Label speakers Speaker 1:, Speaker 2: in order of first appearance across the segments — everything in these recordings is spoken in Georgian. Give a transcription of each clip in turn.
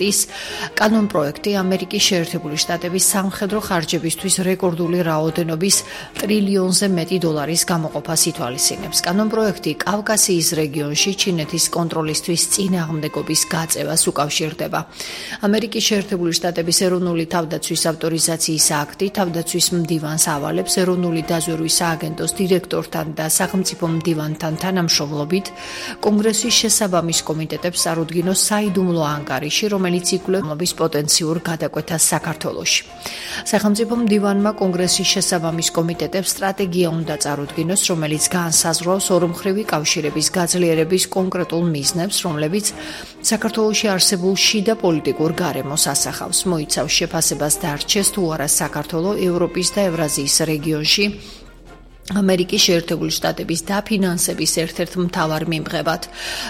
Speaker 1: ის კანონპროექტი ამერიკის შეერთებული შტატების სამხედრო ხარჯებისთვის რეკორდული რაოდენობის ტრილიონზე მეტი დოლარის გამოყოფას ითვალისწინებს. კანონპროექტი კავკასიის რეგიონში ჩინეთის კონტროლისთვის წინააღმდეგობის გაწევას უკავშირდება. ამერიკის შეერთებული შტატების ეროვნული თავდაცვის ავტორიზაციის აქტი თავდაცვის მდივანს ავალებს ეროვნული დაზვერვის სააგენტოს დირექტორთან და სახელმწიფო მდივანთან თანამშრომლობით კონგრესის შესაბამის კომიტეტებს წარუდგინოს საიდუმლო ანგარიში, რომელიც იკვლევს პოტენციურ გადაკვეთას საქართველოში. სახელმწიფო მდივანმა კონგრესის შესაბამის კომიტეტებს სტრატეგია უნდა წარუდგინოს, რომელიც განსაზღვრავს ორმხრივი კავშირების გაძლიერების კონკრეტულ მიზნებს, რომლებიც საქართველოში არსებულ შიდა პოლიტიკურ გარემოს ასახავს. მოიცავს შეფასებას დარჩეს თუ არა საქართველო ევროპის და ევრაზიის რეგიონში ამერიკის შეერთებული შტატების დაფინანსების ერთ-ერთ მთავარ მიმღებად.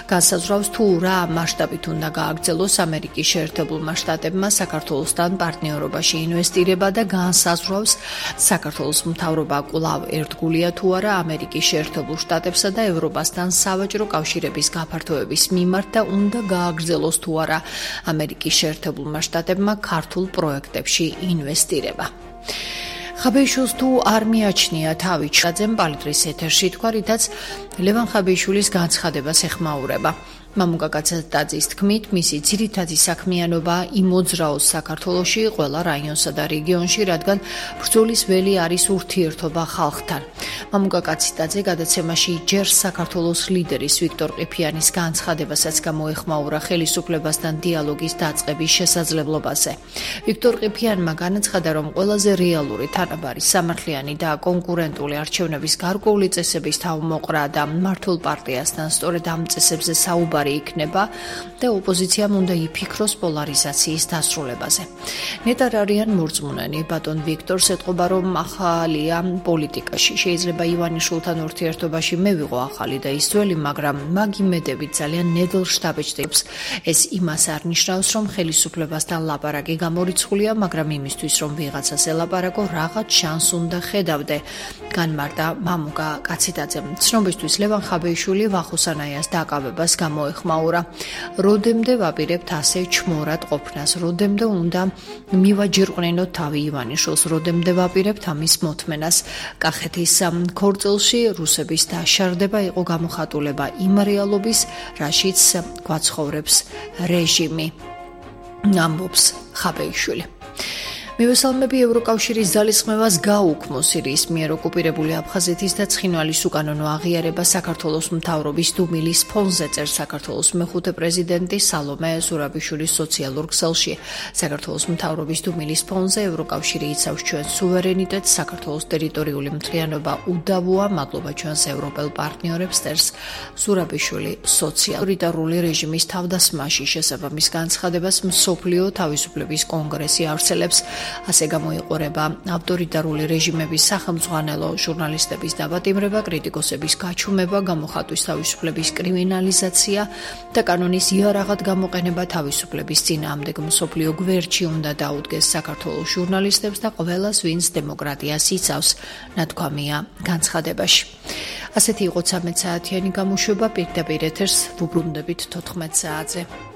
Speaker 1: განსაზღვრავს თუ რა მასშტაბით უნდა გააგრძელოს ამერიკის შეერთებულმა შტატებმა საქართველოსთან პარტნიორობაში ინვესტირება და განსაზღვრავს საქართველოს მთავრობა კვლავ ერთგულია თუ არა ამერიკის შეერთებულ შტატებსა და ევროპასთან სავაჭრო კავშირების გაფართოების მიმართ და უნდა გააგრძელოს თუ არა ამერიკის შეერთებულმა შტატებმა ქართულ პროექტებში ინვესტირება. ხაბეიშვილს თუ არ მიაჩნია თავი ჩაძემ პალიტრის ეთერში თქვა, რითაც ლევან ხაბეიშვილის განცხადებას ეხმაურება. მამუკა კაცატაძის თქმით, მისი ძირითადი საქმიანობა იმოძრაოს საქართველოში, ყველა რაიონსა და რეგიონში, რადგან ბრძოლის ველი არის ურთიერთობა ხალხთან. მამუკა კაცატაძე გადაცემაში ჯერ საქართველოს ლიდერის ვიქტორ ყიფიანის განცხადებასაც გამოეხმაურა ხელისუფლებასთან დიალოგის დაწყების შესაძლებლობაზე. ვიქტორ ყიფიანმა განაცხადა, რომ ყველაზე რეალური თანაბარი სამართლიანი და კონკურენტული არჩევნების გარკვეული წესების თავმოყრა და მმართველ პარტიასთან სწორედ ამ წესებზე საუბარი იქნება და ოპოზიციამ უნდა იფიქროს პოლარიზაციის დასრულებაზე. ნეტარ არიან მორწმუნენი ბატონ ვიქტორს ეთყობა, რომ ახალია პოლიტიკაში. შეიძლება ივანიშვილთან ურთიერთობაში მე ვიყო ახალი და ის ძველი, მაგრამ მაგ იმედებით ძალიან ნედლ შთაბეჭდებს. ეს იმას არ ნიშნავს, რომ ხელისუფლებასთან ლაპარაკი გამორიცხულია, მაგრამ იმისთვის, რომ ვიღაცას ელაპარაკო, რაღაც შანს უნდა ხედავდე. განმარტა მამუკა კაციტაძემ. ცნობისთვის ლევან ხაბეიშვილი ვახოსანაიას დაკავებას ეხმაურა. როდემდე ვაპირებთ ასე ჩმორად ყოფნას, როდემდე უნდა მივაჯირყნინოთ თავი ივანიშვილს, როდემდე ვაპირებთ ამის მოთმენას. კახეთის ქორწილში რუსების დაშარდება იყო გამოხატულება იმ რეალობის, რაშიც გვაცხოვრებს რეჟიმი, ამბობს ხაბეიშვილი. მივესალმები ევროკავშირის ძალისხმევას გაუქმო სირიის მიერ ოკუპირებული აფხაზეთის და ცხინვალის უკანონო აღიარება საქართველოს მთავრობის დუმილის ფონზე, წერს საქართველოს მეხუთე პრეზიდენტი სალომე ზურაბიშვილის სოციალურ ქსელში. საქართველოს მთავრობის დუმილის ფონზე ევროკავშირი იცავს ჩვენს სუვერენიტეტს, საქართველოს ტერიტორიული მთლიანობა უდავოა, მადლობა ჩვენს ევროპელ პარტნიორებს, წერს ზურაბიშვილი სოციალურ რეჟიმის თავდასხმაში შესაბამის განცხადებას მსოფლიო თავისუფლების კონგრესი ავრცელებს. ასე გამოიყურება ავტორიტარული რეჟიმების სახელმძღვანელო ჟურნალისტების დაბატიმრება, კრიტიკოსების გაჩუმება, გამოხატვის თავისუფლების კრიმინალიზაცია და კანონის იარაღად გამოყენება თავისუფლების წინააღმდეგ. მსოფლიო გვერდში უნდა დაუდგეს საქართველოს ჟურნალისტებს და ყველას, ვინც დემოკრატიას იცავს, ნათქვამია განცხადებაში. ასეთი იყო 13 საათიანი გამოშვება, პირდაპირ ეთერს ვუბრუნდებით 14 საათზე.